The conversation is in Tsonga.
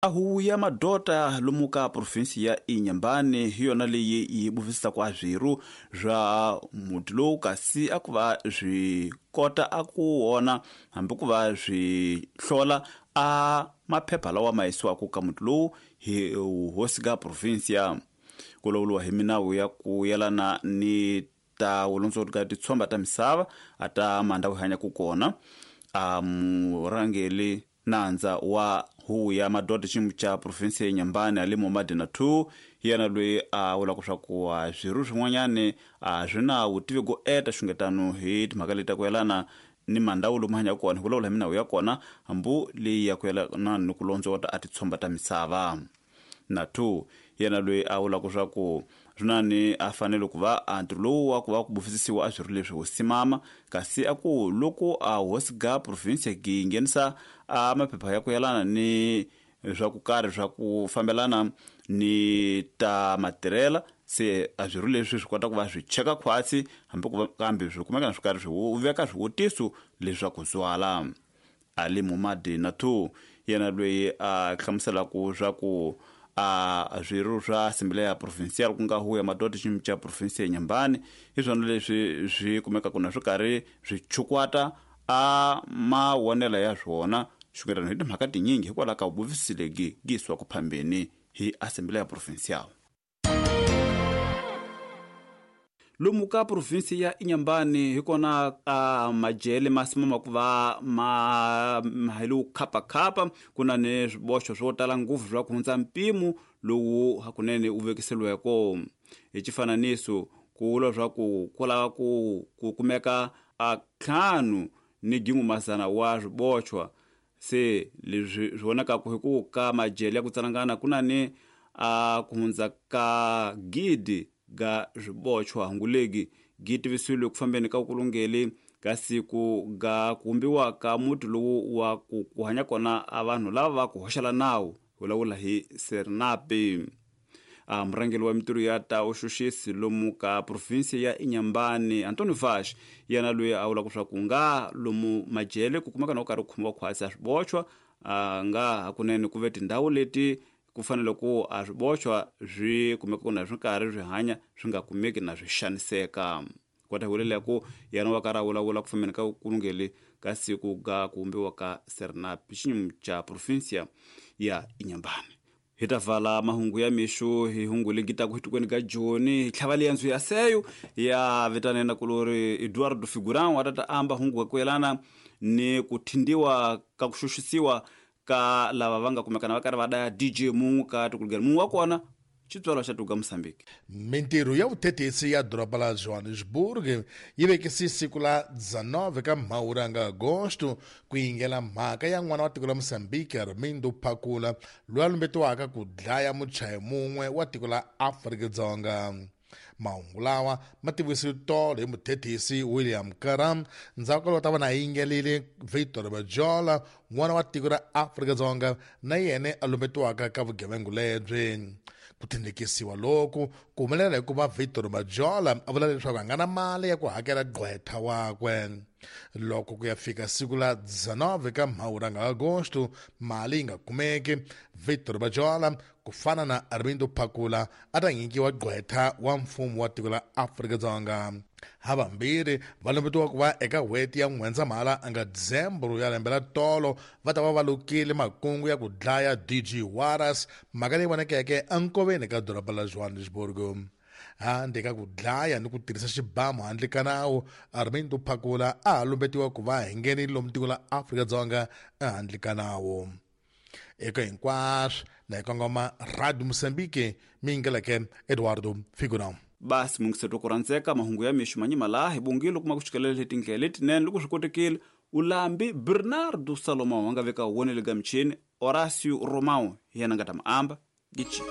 A huvo ya madota lomu ka provinsi ya Inhambane hi yona leyi yi buvisisaka a swirho swa muti lowu, kasi a ku va swi kota a ku wona hambi ku va swi hlola a maphepha lawa ma yisiwaka ka muti lowu hi hosi ka provinsia. Ku lawuriwa hi minawu ya ku yelana ni ta vulondzori ka titshomba ta misava a ta mandhawu hi hanyaka kona. A murhangeli nandza wa huvo ya madoda xiyimo xa provinsi ya Inhambane Ali Momadi 2 hi yena loyi a vulaka swa ku swirho swin'wanyani a swi na vutivi go eta xungetano hi timhaka leti ta ku yelana ni mandhawu lomu hanyaka kona, hi vulavula hi minawu ya kona hambi leyi ya ku yelana ni ku londzota a titshomba ta misava. Na 2 yena loyi a vulaka swa ku swinani a fanele ku va a ntirho lowu wa ku va ku bufisisiwa a swirho leswi hosi mama, kasi a ku loko a hosi ga province yi nghenisa a maphepha ya ku yelana ni swa ku karhi swa ku fambelana ni ta matirhela, se a swirho leswi swi kota ku va swi cheka khwatsi hambi ku va kambe swi kumeka na swi karhi swi veka swivutiso leswaku zwala. Ali Momadi na 2 yena loyi a hlamuselaka swa ku a swirho swa Assembleia Provincial ku nga huvo ya madoda xiyimo xa provinsi ya Inhambane hi swona leswi swi kumekaka na swi karhi swi chukwata a mawonelo ya swona xungetano hi timhaka tinyingi hikwalaho ka vuvisi lebyi gi yisiwaka phambeni hi Assembleia Provincial. Lomu ka provinsi ya Inhambane hi kona a majele ma simama ku va ma hi lowu khapakhapa, ku na ni swiboxo swo tala ngopfu swa ku hundza mpimo lowu hakunene wu vekiseliweko. Hi xifananiso, ku vula swa ku ku lava ku ku kumeka a 5 ni 1,100 wa swiboxwa. Se leswi swi vonakaka hi ku ka majele ya ku tsalangana ku na ni a ku hundza ka 1,000 ga swiboxwa. Hungulegi gi tivisiwile ku fambeni ka kulungeli ka siku ga ku vumbiwa ka muti lowu wa ku ku hanya kona a vanhu lava va ku hoxela nawu, vulavula hi Sernapi. A murhangeri wa mintirho ya ta vuxuxisi lomu ka provinsi ya Inhambane Antonio Vaz yena loyi a vulaka swa ku nga lomu majele ku kumeka na ku karhi ku khomiwa khwatsi a swiboxwa, a nga hakunene ku ve tindhawu leti ku fanele ku a swiboxwa swi kumeka ku na swi karhi swi hanya swi nga kumeki na swi xaniseka. Kota hi vulela ku yena wa karhi a vulavula ku fambeni ka kulungeli ka siku ga ku vumbiwa ka Sernap xiyimo xa provinsia ya Inhambane. Hi ta vala mahungu ya mixo hi hungu legi taku hi tikweni ka Joni hi tlhava liyandzo ya seyo ya vitanena kulori Eduardo Figurão a ta ta amba hungu ku yelana ni ku thindiwa ka ku xuxisiwa ka lava va nga kumekana va karhi va daya DJ mun'we ka tikulugela mun'we wa kona xitswalo xa tuka Mozambique. Mintirho ya vuthethisi ya doroba la Johannesburg yi vekise siku la 19 ka Mhawuri nga Agosto ku yingela mhaka ya n'wana wa tiko la Mozambique Armindo Phakula loyi a lumbetiwaka ku dlaya muchayi mun'we wa tiko la Afrika-Dzonga. Mahungu lawa ma tivisiwe tolo hi muthethisi William Karam ndzhaku ka loko ta va na yingelile Victor Bajola n'wana wa tiko ra Afrika-Dzonga na yena a lumbetiwaka ka vugevenga lebyi. Ku tindlekisiwa loku ku humelela hikuva Victor Bajola a vula leswaku a nga na mali ya ku hakela gqwetha wakwe. Loko ku ya fika siku la 19 ka Mhawuri nga Agosto mali yi nga kumeki, Victor Bajola ku fana na Armindo Phakula a ta nyikiwa gqwetha wa mfumo wa tiko la Afrika-Dzonga. Havambirhi va lumbetiwa ku va eka n'hweti ya N'wendzamhala nga December ya lembe la tolo va ta va va lukile makungu ya ku dlaya DJ Warras, mhaka leyi vonakeke enkoveni ka doroba la Johannesburg. Handle ka ku dlaya ni ku tirhisa xibamu handle ka nawu, Armindo Phakula a ha lumbetiwa ku va hi nghenile lomu tiko la Afrika-Dzonga ehandle ka nawu. Eka hinkwaswo na hi kongoma Radio Mozambique mi yingeleke Eduardo Figurão. Basi mungiseto ku rhandzeka mahungu ya mixo manyima laha hi bongile kuma ku xikelela tindlela letinene loko swi kotekile ulambi Bernardo Salomão a nga veka wonele ga michini Horácio Romão hi yena nga ta mu amba gichi.